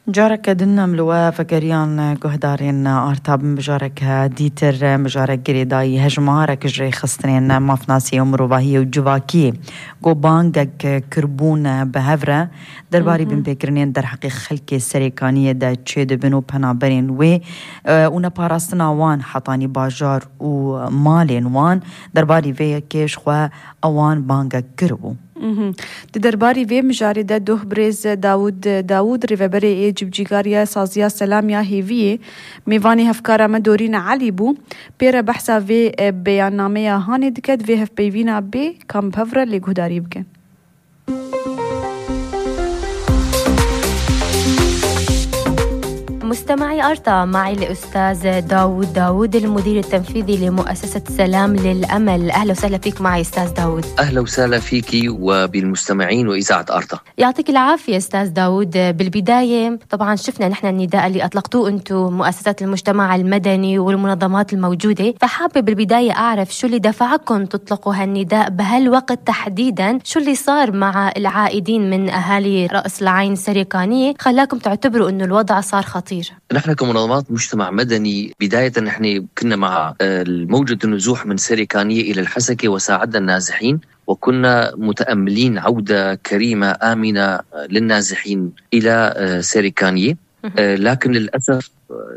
جارك دنا ملوا فكريان قهدارين آرتاب بجارك ديتر مجارك قريداي هجمارك جري خستنين ما فناسي ومروباهي وجواكي قو بانقك كربون بهفرة درباري بن بكرنين در حقيق خلقي سريكانية دا تشيد بنو بنابرين ونا باراستنا وان حطاني باجار ومالين وان درباري في كيش خوا اوان بانقك كربو دی درباری وی مجارده دوه بریز داود ریوبری ایجب جیگاریا سازیا سلامیا هیویه میوانی هفکارا مدورین علی بو پیرا بحثا وی بیاننامه هانی دکد وی هف بیوینا بی کام بهفره لگهداری بکن. مستمعي أرتا معي الأستاذ داود المدير التنفيذي لمؤسسة سلام للأمل. أهلا وسهلا فيك معي أستاذ داود. أهلا وسهلا فيك وبالمستمعين وإذاعة أرتا. يعطيك العافية أستاذ داود. بالبداية طبعا شفنا نحن النداء اللي أطلقتوه أنتم مؤسسات المجتمع المدني والمنظمات الموجودة، فحابة بالبداية أعرف شو اللي دفعكم تطلقوا هالنداء بهالوقت تحديدا، شو اللي صار مع العائدين من أهالي رأس العين سريكانية خلاكم تعتبروا أنه الوضع صار خطير؟ نحن كمنظمات مجتمع مدني بداية نحن كنا مع موجة النزوح من سريكانية إلى الحسكة وساعدنا النازحين، وكنا متأملين عودة كريمة آمنة للنازحين إلى سريكانية، لكن للأسف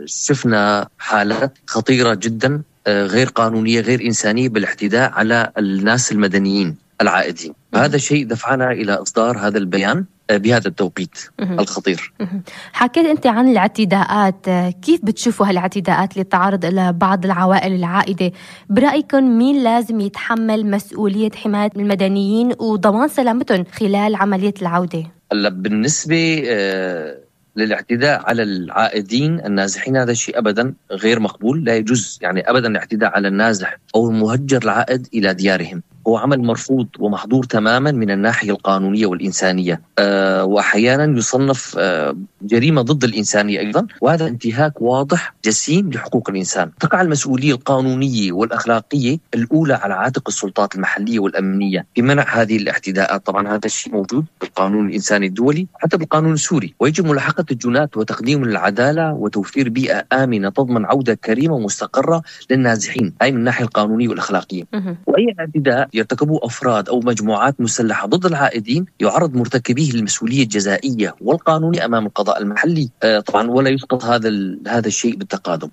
شفنا حالات خطيرة جدا غير قانونية غير إنسانية بالاعتداء على الناس المدنيين العائدين. هذا الشيء دفعنا إلى إصدار هذا البيان بهذا التوقيت الخطير. حكيت أنت عن الاعتداءات، كيف بتشوفوا هالاعتداءات اللي تعرض إلى بعض العوائل العائدة؟ برأيكم مين لازم يتحمل مسؤولية حماية المدنيين وضمان سلامتهم خلال عملية العودة؟ بالنسبة للاعتداء على العائدين النازحين هذا الشيء أبدا غير مقبول، لا يجوز يعني أبدا الاعتداء على النازح أو المهجر العائد إلى ديارهم، هو عمل مرفوض ومحظور تماما من الناحية القانونية والإنسانية، وأحيانا يصنف جريمة ضد الإنسانية أيضا، وهذا انتهاك واضح جسيم لحقوق الإنسان. تقع المسؤولية القانونية والأخلاقية الأولى على عاتق السلطات المحلية والأمنية بمنع هذه الاعتداءات. طبعا هذا الشيء موجود بالقانون الإنساني الدولي حتى بالقانون السوري، ويجب ملاحقة الجنات وتقديم العدالة وتوفير بيئة آمنة تضمن عودة كريمة ومستقرة للنازحين، أي من الناحية القانونية والأخلاقية. وأي اعتداء يرتكبه أفراد أو مجموعات مسلحة ضد العائدين يعرض مرتكبيه للمسؤولية الجزائية والقانونية أمام القضاء المحلي طبعا، ولا يسقط هذا الشيء بالتقادم.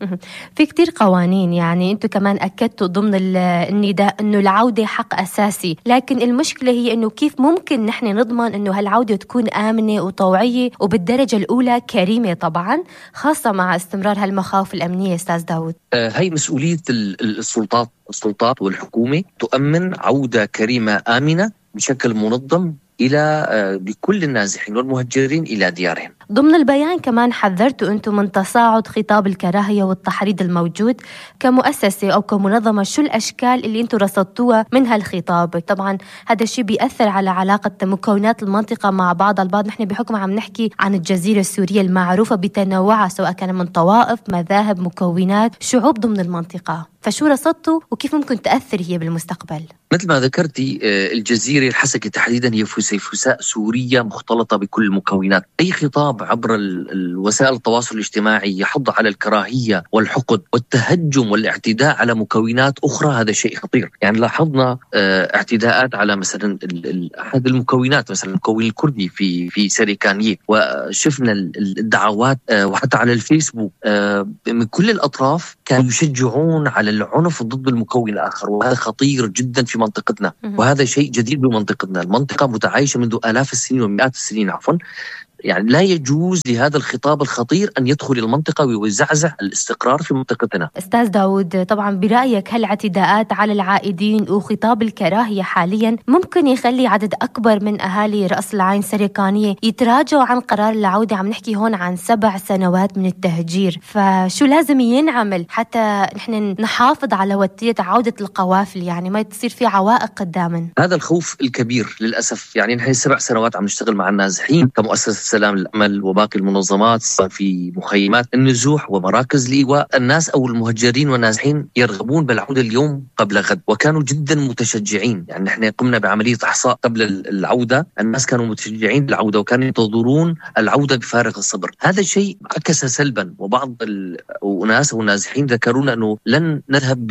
في كتير قوانين، يعني أنتم كمان أكدتوا ضمن النداء أنه العودة حق أساسي، لكن المشكلة هي أنه كيف ممكن نحن نضمن أنه هالعودة تكون آمنة وطوعية وبالدرجة الأولى كريمة، طبعا خاصة مع استمرار هالمخاوف الأمنية. أستاذ داود، هي مسؤولية السلطات والحكومة تؤمن عودة كريمة آمنة بشكل منظم لكل النازحين والمهجرين إلى ديارهم. ضمن البيان كمان حذرتوا أنتم من تصاعد خطاب الكراهية والتحريض الموجود كمؤسسة أو كمنظمة، شو الأشكال اللي أنتم رصدتوها من هالخطاب؟ طبعا هذا الشيء بيأثر على علاقة مكونات المنطقة مع بعض البعض. نحن بحكم عم نحكي عن الجزيرة السورية المعروفة بتنوعها سواء كان من طوائف، مذاهب، مكونات، شعوب ضمن المنطقة، فشو رصدتوا وكيف ممكن تأثر هي بالمستقبل؟ مثل ما ذكرتي الجزيرة الحسكة تحديدا هي فسيفساء سورية مختلطة بكل المكونات. أي خطاب عبر الوسائل التواصل الاجتماعي يحض على الكراهية والحقد والتهجم والاعتداء على مكونات أخرى، هذا شيء خطير. يعني لاحظنا اعتداءات على مثلا أحد المكونات، مثلا المكون الكردي في سريكانية، وشفنا الدعوات وحتى على الفيسبوك من كل الأطراف كانوا يشجعون على العنف ضد المكون الآخر، وهذا خطير جدا في منطقتنا، وهذا شيء جديد بمنطقتنا. المنطقة متعايشة منذ آلاف السنين ومئات السنين يعني لا يجوز لهذا الخطاب الخطير أن يدخل المنطقة ويزعزع الاستقرار في منطقتنا. أستاذ داود، طبعا برأيك هالاعتداءات على العائدين وخطاب الكراهية حاليا ممكن يخلي عدد أكبر من أهالي رأس العين سريكانية يتراجعوا عن قرار العودة؟ عم نحكي هون عن 7 سنوات من التهجير، فشو لازم ينعمل حتى نحن نحافظ على ودية عودة القوافل، يعني ما تصير في عوائق قداما؟ هذا الخوف الكبير للأسف. يعني نحن 7 سنوات عم نشتغل مع النازحين كمؤسسة السلام للأمل وباقي المنظمات في مخيمات النزوح ومراكز الإيواء، الناس أو المهجرين والنازحين يرغبون بالعودة اليوم قبل غد، وكانوا جدا متشجعين. يعني نحن قمنا بعملية إحصاء قبل العودة، الناس كانوا متشجعين بالعودة وكانوا ينتظرون العودة بفارغ الصبر. هذا الشيء عكس سلبا، وبعض الناس أو النازحين ذكرونا أنه لن نذهب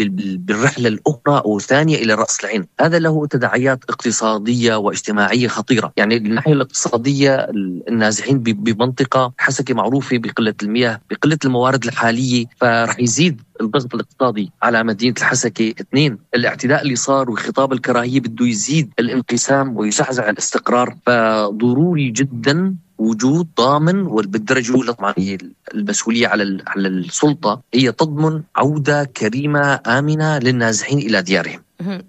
بالرحلة الأخرى أو الثانية إلى رأس العين. هذا له تداعيات اقتصادية واجتماعية خطيرة. يعني الناحية الاقتصادية النازحين بمنطقة حسكة معروفة بقلة المياه، بقلة الموارد الحالية، فرح يزيد الضغط الاقتصادي على مدينة الحسكة. 2، الاعتداء اللي صار وخطاب الكراهية بده يزيد الانقسام ويزعزع الاستقرار، فضروري جدا وجود ضامن. وبالدرجة الأولى طبعا هي المسؤولية على السلطة، هي تضمن عودة كريمة آمنة للنازحين إلى ديارهم.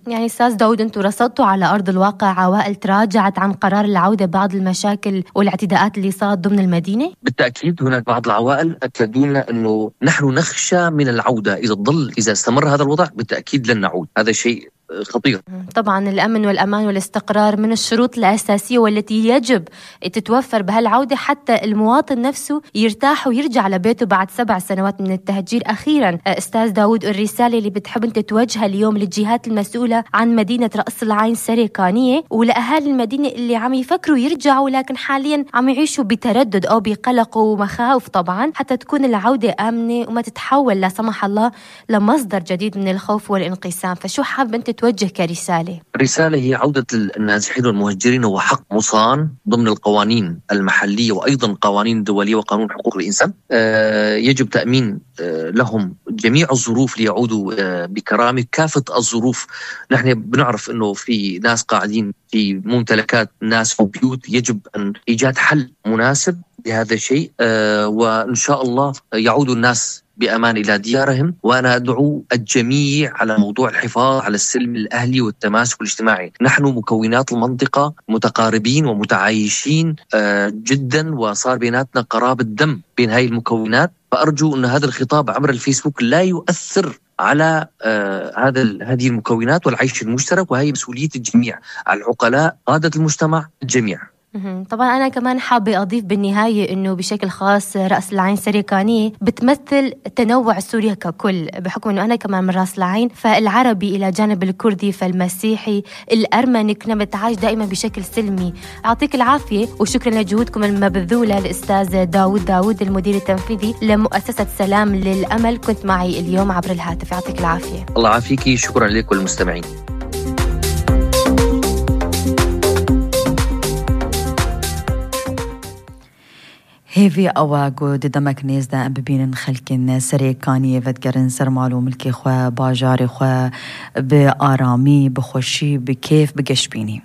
يعني أستاذ داود، أنتم رصدتوا على أرض الواقع عوائل تراجعت عن قرار العودة بعض المشاكل والاعتداءات اللي صارت ضمن المدينة؟ بالتأكيد هناك بعض العوائل أكدونا أنه نحن نخشى من العودة، إذا استمر هذا الوضع بالتأكيد لن نعود. هذا شيء خطير. طبعا الأمن والأمان والاستقرار من الشروط الأساسية والتي يجب تتوفر بهالعودة حتى المواطن نفسه يرتاح ويرجع لبيته بعد 7 سنوات من التهجير. أخيرا أستاذ داود، الرسالة اللي بتحب أنت توجهها اليوم للجهات المسؤولة عن مدينة رأس العين سريكانية ولأهالي المدينة اللي عم يفكروا يرجعوا لكن حاليا عم يعيشوا بتردد أو بقلق ومخاوف طبعا، حتى تكون العودة آمنة وما تتحول لا سمح الله لمصدر جديد من الخوف والانقسام، فشو حاب أنت توجه كرسالة؟ رسالة هي عودة النازحين والمهجرين هو حق مصان ضمن القوانين المحلية وأيضا قوانين دولية وقانون حقوق الإنسان. يجب تأمين لهم جميع الظروف ليعودوا بكرامة، كافة الظروف. نحن بنعرف أنه في ناس قاعدين في ممتلكات ناس في بيوت، يجب أن إيجاد حل مناسب لهذا الشيء، وإن شاء الله يعود الناس بأمان إلى ديارهم. وأنا أدعو الجميع على موضوع الحفاظ على السلم الأهلي والتماسك الاجتماعي. نحن مكونات المنطقة متقاربين ومتعايشين جدا، وصار بيناتنا قرابة دم بين هاي المكونات، فأرجو أن هذا الخطاب عبر الفيسبوك لا يؤثر على هذه المكونات والعيش المشترك، وهي مسؤولية الجميع، العقلاء، قادة المجتمع، الجميع. طبعا أنا كمان حابة أضيف بالنهاية أنه بشكل خاص رأس العين سريكانية بتمثل تنوع سوريا ككل، بحكم أنه أنا كمان من رأس العين، فالعربي إلى جانب الكردي، فالمسيحي، الأرمني، كنا بنتعايش دائما بشكل سلمي. أعطيك العافية وشكرا لجهودكم المبذولة. الأستاذ داود المدير التنفيذي لمؤسسة سلام للأمل، كنت معي اليوم عبر الهاتف. يعطيك العافية. الله يعافيكي، شكرا لك والمستمعين. هيفي أواغو دمك نيزدا أم ببين خلكن سريكانية فتقرن سر معلوم ملكي خوا باجاري خوا بآرامي بخوشي بكيف بقشبيني.